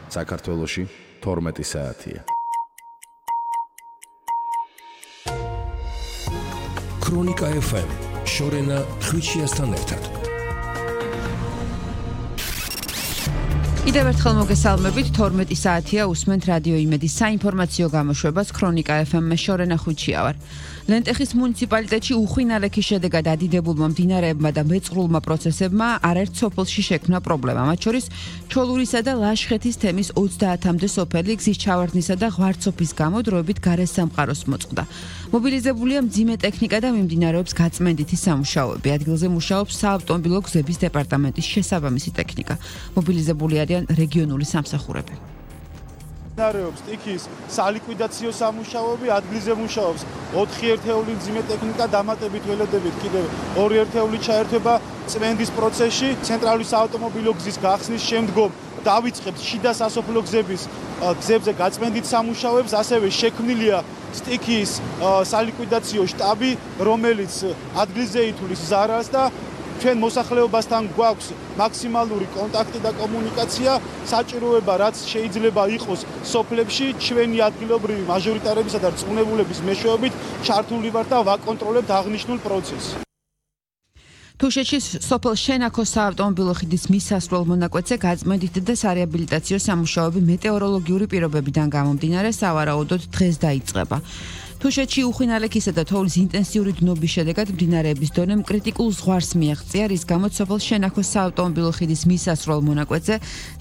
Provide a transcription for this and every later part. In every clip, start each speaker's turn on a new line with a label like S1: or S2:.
S1: საქართველოში 12 საათია.
S2: ქრონიკა FM შორენა ხვიჩიასთან ერთად.
S3: კიდევ ერთხელ მოგესალმებით, 12 საათია უსმენთ რადიო იმედის საინფორმაციო გამოშვებას ქრონიკა FM-მე შორენა ხვიჩია ვარ. ლენტეხის მუნიციპალიტეტში უხვინალექის შედეგად ადიდებულმა მდინარეებმა და მეწყრულმა პროცესებმა არაერთ სოფელში შექმნა პრობლემა. მათ შორის ჩოლურისა და ლაშხეთის თემის 30-მდე სოფელი გზის ჩავარდნისა და ღვარცოფის გამო დროებით გარესამყაროს მოწყდა. მობილიზებულია მძიმე ტექნიკა და მიმდინარეობს გაწმენდითი სამუშაოები. ადგილზე მუშაობს საავტომობილო გზების დეპარტამენტის შესაბამისი ტექნიკა. მობილიზებული არიან რეგიონული სამსახურები.
S4: მიმდინარეობს ტიქის სალიკვიდაციო სამუშაოები, ადგილზე მუშაობს 4 ერთეული მძიმე ტექნიკა, დამატებით ველოდებით კიდევ 2 ერთეული ჩაერთვება წმენდის პროცესში. ცენტრალური საავტომობილო გზის გახსნის შემდგომ დავიწყებთ შიდა სასოფლო გზებზე გაწმენდით სამუშაოებს, ასევე შექმნილია სტიქის სალიკვიდაციო შტაბი, რომელიც ადგილზე ითვლის ზარალს და ჩვენ მოსახლეობასთან გვაქვს მაქსიმალური კონტაქტი და კომუნიკაცია, საჭიროება რაც შეიძლება იყოს სოფლებში, ჩვენი ადგილობრივი მაჟორიტარებისა და რწმუნებულების მეშვეობით ჩართული ვართ და ვაკონტროლებთ აღნიშნულ პროცესს.
S3: თუშეთში სოფელ შენაქოს საავტომობილო ხიდის მისასვლელ მონაკვეთზე გაწმენდითი და სარეაბილიტაციო სამუშაოები მეტეოროლოგიური პირობებიდან გამომდინარე სავარაუდოდ დღეს დაიწყება. თუშეთში უხვინალექისა და თოვლის ინტენსიური დნობის შედეგად მდინარეების დონემ კრიტიკულ ზღვარს მიაღწია, რის გამოც სოფელ შენაქოს საავტომობილო ხიდის მისასვლელ მონაკვეთზე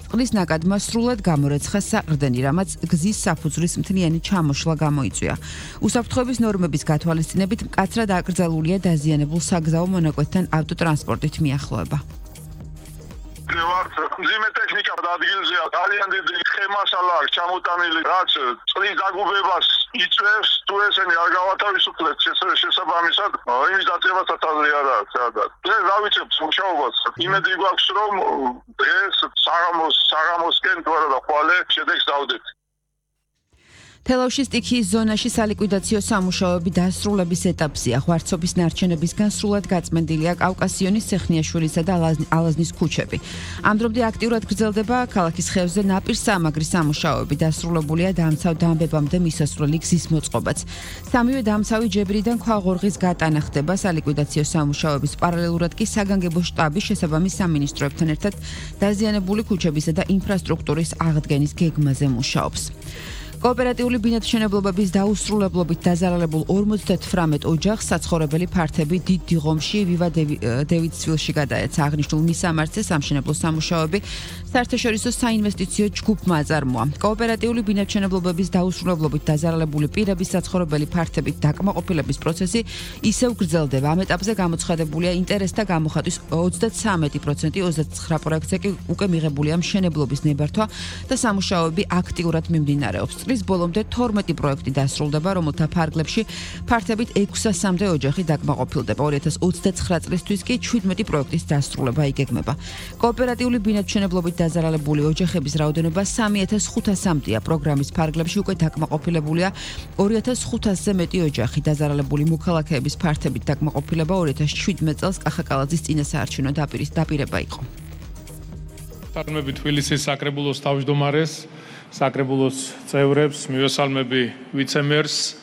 S3: წყლის ნაკადმა სრულად გამორეცხა საყრდენი, რამაც გზის საფუძვლის მთლიანი ჩამოშლა გამოიწვია. უსაფრთხოების ნორმების გათვალისწინებით მკაცრად აკრძალულია დაზიანებულ საგზაო მონაკვეთთან ავტოტრანსპორტით მიახლოება.
S5: მძიმე ტექნიკა ადგილზეა, ძალიან დიდი ხემასალა აქვს ჩამოტანილი, რაც წყლის დაგუბებას იწვევს, თუ ესენი არ გავათავისუფლეთ შესაბამისად, იმის დაწევასაც აზრი არ აქვს სადაც. დღეს დავიწყებთ მუშაობას, იმედი გვაქვს, რომ დღეს საღამოსკენ თუ არა და ხვალე შედეგს დავდეთ.
S3: თელავშის სტიქიის ზონაში სალიკვიდაციო სამუშაოები დასრულების ეტაპზეა. ღვარცოფის ნარჩენებისგან სრულად გაწმენდილია კავკასიონის, სეხნიაშვილისა და ალაზნის ქუჩები. ამ დრომდე აქტიურად გრძელდება ქალაქის ხევზე ნაპირსამაგრის სამუშაოები. დასრულებულია დამცავ-დამბებამდე მისასვლელი გზის მოწყობაც. სამივე დამცავი ჯებრიდან ქვაღორღის გატანა ხდება. სალიკვიდაციო სამუშაოების პარალელურად კი საგანგებო შტაბი შესაბამის სამინისტროებთან ერთად დაზიანებული ქუჩებისა და ინფრასტრუქტურის აღდგენის გეგმაზე მუშაობს. კოოპერატიული ბინადმშენებლობების დაუსრულებლობით დაზარალებულ 58 ოჯახს საცხოვრებელი ფართები დიდ დიღომში ვივა დევიდსვილში გადაეცა. აღნიშნულ მისამართზე სამშენებლო სამუშაოები საერთაშორისო საინვესტიციო ჯგუფმა აწარმოა. კოოპერატიული ბინადმშენებლობების დაუსრულებლობით დაზარალებული პირების საცხოვრებელი ფართებით დაკმაყოფილების პროცესი ისევ გრძელდება. ამ ეტაპზე გამოცხადებულია ინტერესთა გამოხატვის 33%, 29 პროექტზე კი უკვე მიღებულია მშენებლობის ნებართვა და სამუშაოები აქტიურად მიმდინარეობს. წლის ბოლომდე 12 პროექტი დასრულდება, რომელთა ფარგლებში ფართებით 600-მდე ოჯახი დაკმაყოფილდება. 2029 წლისთვის კი 17 პროექტის დასრულება იგეგმება. კოოპერატიული ბინადმშენებლობით დაზარალებული ოჯახების რაოდენობა 3500-მდეა. პროგრამის ფარგლებში უკვე დაკმაყოფილებულია 2500-ზე მეტი ოჯახი. დაზარალებული მოქალაქეების ფართებით დაკმაყოფილება 2017 წელს კახაკალაძის წინასაარჩევნო დაპირება იყო.
S6: წარმები თბილისის საკრებულოს თავმჯდომარეს, საკრებულოს წევრებს, მივესალმები ვიცემერს,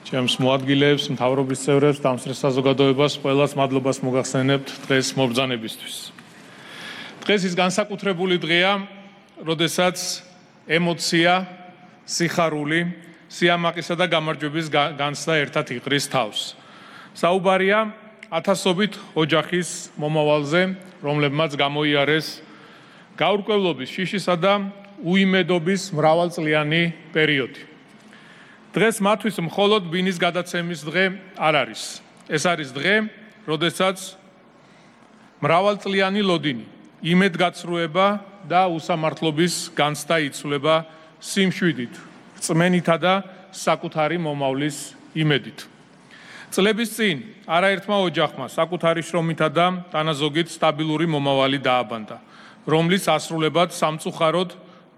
S6: ჩემს მოადგილეებს, მთავრობის წევრებს, დამსწრე საზოგადოებას, ყველას მადლობას მოგახსენებთ დღეს მობრძანებისთვის. დღეს ის განსაკუთრებული დღეა, როდესაც ემოცია, სიხარული, სიამაყისა და გამარჯვების განცდა ერთად იყრის თავს. საუბარია ათასობით ოჯახის მომავალზე, რომლებმაც გამოიარეს გაურკვევლობის, შიშისა და უიმედობის მრავალწლიანი პერიოდი. დღეს მათთვის მხოლოდ ბინის გადაცემის დღე არ არის. ეს არის დღე, როდესაც მრავალწლიანი ლოდინი, იმედგაცრუება და უსამართლობის განცდა იცვლება სიმშვიდით, რწმენითა და საკუთარი მომავლის იმედით. წლების წინ არაერთმა ოჯახმა საკუთარი შრომითა და თანაზოგით სტაბილური მომავალი დააბანდა, რომლის ასრულებად სამწუხაროდ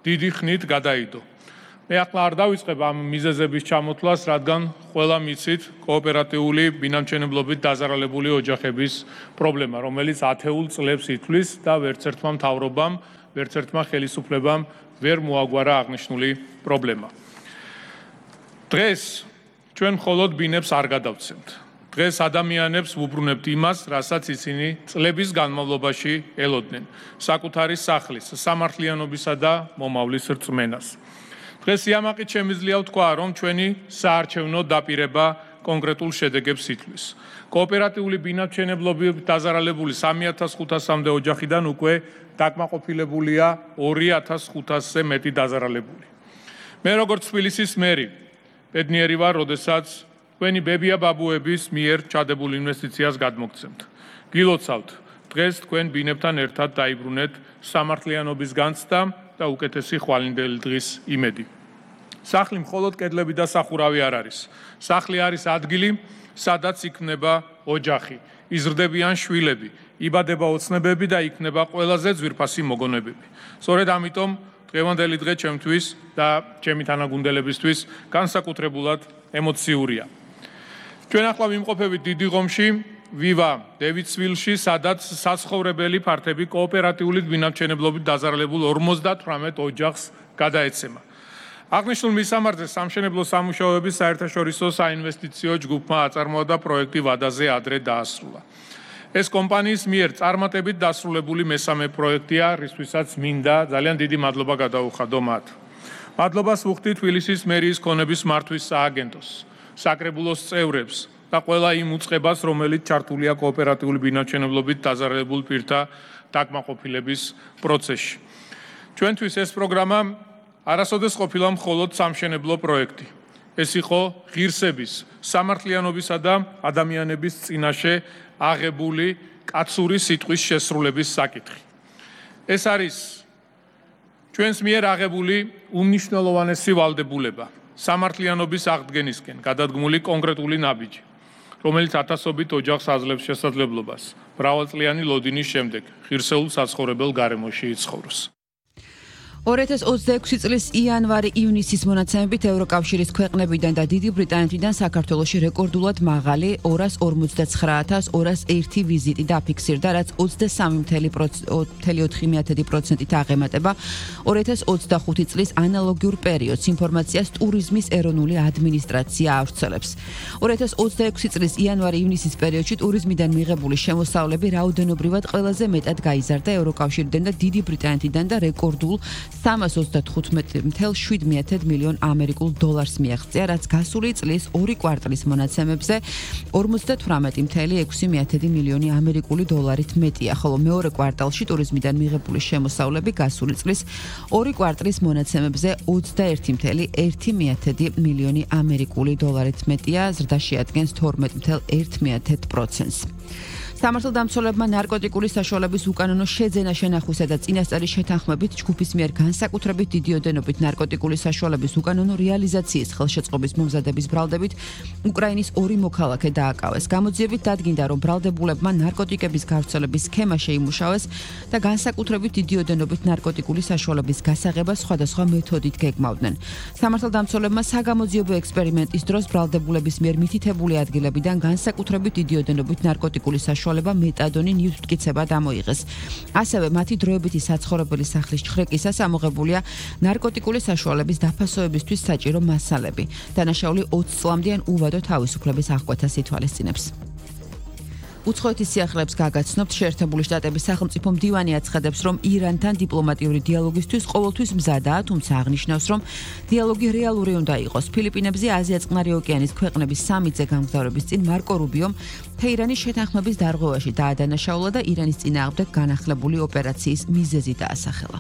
S6: დიდი ხნით გადაიდო. მე ახლა არ დავიწყებ ამ მიზეზების ჩამოთვლას, რადგან ყველა მიცით კოოპერატიული ბინამჩენებლობით დაზარალებული ოჯახების პრობლემა, რომელიც ათეულ წლებს ითვლის და ვერც ერთმა მთავრობამ ვერცერთმა ხელისუფლებამ ვერ მოაგვარა აღნიშნული პრობლემა. დღეს ჩვენ მხოლოდ ბინებს არ გადავცემთ. დღეს ადამიანებს ვუბრუნებთ იმას, რასაც ისინი წლების განმავლობაში ელოდნენ, საკუთარი სახლის, სამართლიანობისა და მომავლის რწმენას. დღეს იამაყით შემიძლია ვთქვა, რომ ჩვენი საარჩევნო დაპირება კონკრეტულ შედეგებს ითვლის. კოოპერატიული ბინადმშენებლობით დაზარალებული 3500-მდე ოჯახიდან უკვე დაკმაყოფილებულია 2500-ზე მეტი დაზარალებული. მე როგორც თბილისის მერი ბედნიერი ვარ, როდესაც თქვენი ბებია ბაბუების მიერ ჩადებულ ინვესტიციას გადმოგცემთ. გილოცავთ, დღეს თქვენ ბინებთან ერთად დაიბრუნეთ სამართლიანობის განცდა და უკეთესი ხვალინდელი დღის იმედი. სახლი მხოლოდ კედლები და სახურავი არ არის. სახლი არის ადგილი, სადაც იქნება ოჯახი, იზრდებიან შვილები, იბადება ოცნებები და იქნება ყველაზე ძვირფასი მოგონებები. სწორედ ამიტომ დღევანდელი დღე ჩემთვის და ჩემი თანაგუნდელებისთვის განსაკუთრებულად ემოციურია. ჩვენ ახლა ვიმყოფებით დიდი ღომში, ვივა დევიცვილში, სადაც საცხოვრებელი ფართები კოოპერატიული ბინადმშენებლობით დაზარალებულ 58 ოჯახს გადაეცემა. აღნიშნულ მისამართზე სამშენებლო სამუშაოების საერთაშორისო საინვესტიციო ჯგუფმა აწარმოა პროექტი ვადაზე ადრე დაასრულა. ეს კომპანიის მიერ წარმატებით დასრულებული მესამე პროექტია, რისთვისაც მინდა ძალიან დიდი მადლობა გადაუხადო მათ. მადლობას ვუხდი თბილისის მერიის ქონების მართვის სააგენტოს, საკრებულოს წევრებს და ყველა იმ უწყებას, რომელიც ჩართულია კოოპერატიული ბინადმშენებლობით დაზარალებულ პირთა დაკმაყოფილების პროცესში. ჩვენთვის ეს პროგრამა არასოდეს ყოფილა მხოლოდ სამშენებლო პროექტი. ეს იყო ღირსების, სამართლიანობისა და ადამიანების წინაშე აღებული კაცური სიტყვის შესრულების საკითხი. ეს არის ჩვენს მიერ აღებული უმნიშვნელოვანესი ვალდებულება, სამართლიანობის აღდგენისკენ გადადგმული კონკრეტული ნაბიჯი, რომელიც ათასობით ოჯახს აძლევს შესაძლებლობას მრავალწლიანი ლოდინის შემდეგ ღირსეულ საცხოვრებელ გარემოში იცხოვროს.
S3: 2026 წლის იანვარი-ივნისის მონაცემებით ევროკავშირის ქვეყნებიდან და დიდი ბრიტანეთიდან საქართველოში რეკორდულად მაღალი 259,201 ვიზიტი დაფიქსირდა, რაც 23.4%-ით აღემატება 2025 წლის ანალოგიურ პერიოდს, ინფორმაციას ტურიზმის ეროვნული ადმინისტრაცია ავრცელებს. 2026 წლის იანვარი-ივნისის პერიოდში ტურიზმიდან მიღებული შემოსავლები რაოდენობრივად ყველაზე მეტად გაიზარდა ევროკავშირიდან და დიდი ბრიტანეთიდან და რეკორდულ 335.7 მილიონ ამერიკულ დოლარს მიაღწია, რაც გასული წლის 2 კვარტლის მონაცემებზე 58.6 მილიონი ამერიკული დოლარით მეტია, ხოლო მეორე კვარტალში ტურიზმიდან მიღებული შემოსავლები გასული წლის 2 კვარტლის მონაცემებზე 21.1 მილიონი ამერიკული დოლარით მეტია, ზრდა შეადგენს 12.1%-ს. სამართალდამცველებმა ნარკოტიკული საშუალების უკანონო შეძენა შენახვისა და წინასწარი შეთანხმებით ჯგუფის მიერ განსაკუთრებით დიდი ოდენობით ნარკოტიკული საშუალების უკანონო რეალიზაციის ხელშეწყობის მომზადების ბრალდებით უკრაინის 2 მოქალაქე დააკავეს. გამოძიებით დადგინდა, რომ ბრალდებულებმა ნარკოტიკების გავრცელების სქემა შეიმუშავეს და განსაკუთრებით დიდი ოდენობით ნარკოტიკული საშუალების გასაღება სხვადასხვა მეთოდით გეგმავდნენ. სამართალდამცველებმა საგამოძიებო ექსპერიმენტის დროს ბრალდებულების მიერ მითითებული ადგილებიდან განსაკუთრებით დიდი ოდენობით ნარკოტიკული საშუალება მეტადონი ნივთმტკიცება დამოიღეს. ასევე მათი დროებითი საცხოვრებელი სახლის ჩხრეკისას ამოღებულია ნარკოტიკული საშუალების დაფასოებისთვის საჭირო მასალები. დანაშაული 20 წლამდე უვადო თავისუფლების აღკვეთას ითვალისწინებს. უცხოეთის სიახლეებს გაგაცნობთ, შეერთებული შტატების სახელმწიფო მდივანი აცხადებს, რომ ირანთან დიპლომატიური დიალოგისთვის ყოველთვის მზადაა, თუმცა აღნიშნავს, რომ დიალოგი რეალური უნდა იყოს. ფილიპინებზე აზია-წყნარი ოკეანის ქვეყნების სამიტზე გამგზავრების წინ მარკო რუბიომ თეირანის შეთანხმების დარღვევაში დაადანაშაულა და ირანის წინააღმდეგ განახლებული ოპერაციის მიზეზი დაასახელა.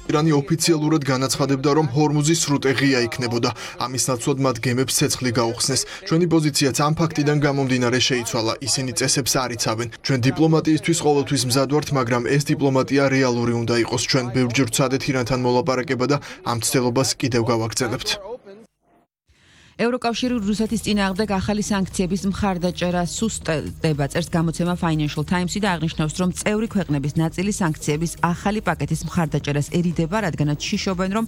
S7: ირანი ოფიციალურად განაცხადებდა, რომ ჰორმუზის სრუტე ღია იქნებოდა. ამის ნაცვლად მათ გემებს ცეცხლი გაუხსნეს. ჩვენი პოზიციაც ამ ფაქტიდან გამომდინარე შეიცვალა. ისინი წესებს არ იცავენ. ჩვენ დიპლომატიისთვის ყოველთვის მზად ვართ, მაგრამ ეს დიპლომატია რეალური უნდა იყოს. ჩვენ ბევრჯერ ვცადეთ ირანთან მოლაპარაკება და ამ ცდელობას კიდევ გავაგრძელებთ.
S3: ევროკავშირი რუსეთის წინააღმდეგ ახალი სანქციების მხარდაჭერა სუსტდება, წერს გამოცემა Financial Times-ი და აღნიშნავს, რომ წევრი ქვეყნების ნაწილი სანქციების ახალი პაკეტის მხარდაჭერას ერიდება, რადგანაც შიშობენ, რომ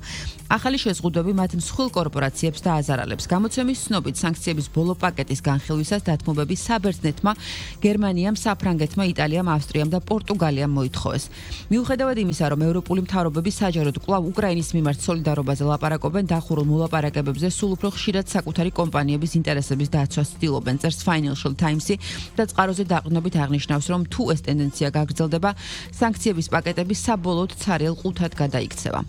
S3: ახალი შეზღუდვები მათ მსხვილ კორპორაციებს დააზარალებს. გამოცემის ცნობით, სანქციების ბოლო პაკეტის განხილვისას დათმობები საბერძნეთმა, გერმანიამ, საფრანგეთმა, იტალიამ, ავსტრიამ და პორტუგალიამ მოითხოვეს. მიუხედავად იმისა, რომ ევროპული მთავრობები საჯაროდ კვლავ უკრაინის მიმართ სოლიდარობაზე ლაპარაკობენ, დახურულ მოლაპარაკებებზე სულ უფრო ხშირად საკუთარი კომპანიების ინტერესების დაცვას ცდილობენ, წერს Financial Times-ი და წყაროზე დაყრდნობით აღნიშნავს, რომ თუ ეს ტენდენცია გაგრძელდება, სანქციების პაკეტები საბოლოოდ ცარიელ ყუთად გადაიქცევა.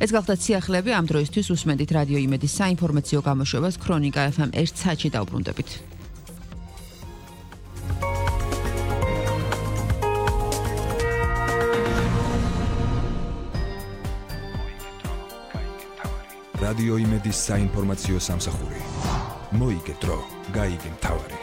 S3: ეს გახლდათ სიახლეები ამ დროისთვის უსმენთ რადიო იმედის საინფორმაციო გამოშვებას ქრონიკა FM 1 საათში დაუბრუნდებით.
S2: რადიო იმედის საინფორმაციო სამსახური. მოიგე დრო, გაიგე მთავარი.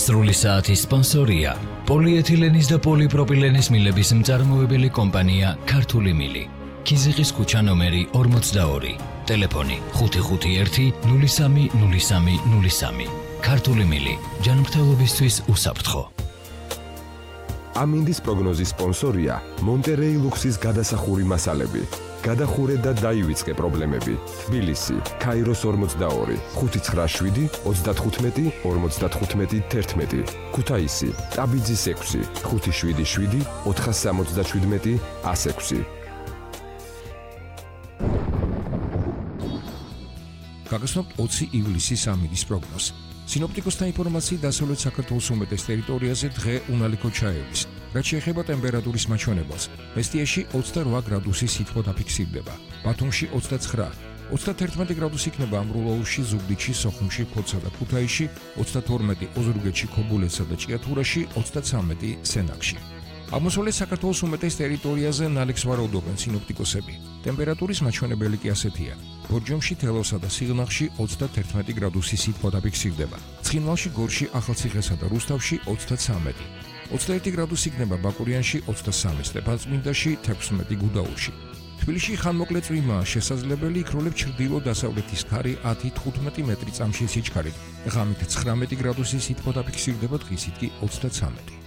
S8: სრული საათის სპონსორია პოლიეთილენის და პოლიპროპილენის მილების მწარმოებელი კომპანია ქართული მილი. ქიზიყის ქუჩა ნომერი 42, ტელეფონი 551 03 03 03. ქართული მილი, ჯანმრთელობისთვის უსაფრთხო.
S9: ამინდის პროგნოზის სპონსორია მონტერეი ლუქსის გადასახური მასალები. გადახურე და დაივიწყე პრობლემები. თბილისი, ქაიროს 42, 597 35 55 11. ქუთაისი, ტაბიძის 6, 577 477 106.
S2: გაგაცნობთ 20 ივლისის ამინდის პროგნოზი. სინოპტიკოსთა ინფორმაციით დასავლეთ საქართველოს უმეტეს ტერიტორიაზე დღე უნალიქო ჩაევის. რაც შეეხება ტემპერატურის მაჩვენებელს, მესტიაში 28 გრადუსი სითბო დაფიქსირდება, ბათუმში 29, 31 გრადუსი იქნება ამრულაურში, ზუგდიდში, სოხუმში, ფოთსა და ქუთაისში, 32 ოზურგეთში, ქობულეთსა და ჭიათურაში, 33 სენაკში. აღმოსავლეთ საქართველოს უმეტეს ტერიტორიაზე ნალექს ვარაუდობენ სინოპტიკოსები. ტემპერატურის მაჩვენებელი კი ასეთია. ბორჯომში, თელავსა და სიღნაღში 31 გრადუსი სითბო დაფიქსირდება. ცხინვალში, გორში, ახალციხესა და რუსთავში 33. 21 გრადუსი იქნება ბაკურიანში, 23 სტეფანწმინდაში, 16 გუდაურში. თბილისში ხანმოკლე წვიმაა შესაძლებელი, იქროლებს ჩრდილო-დასავლეთის ქარი 10-15 მეტრი წამში სიჩქარით. ღამით 19 გრადუსი სითბო დაფიქსირდება, დღისით კი 33.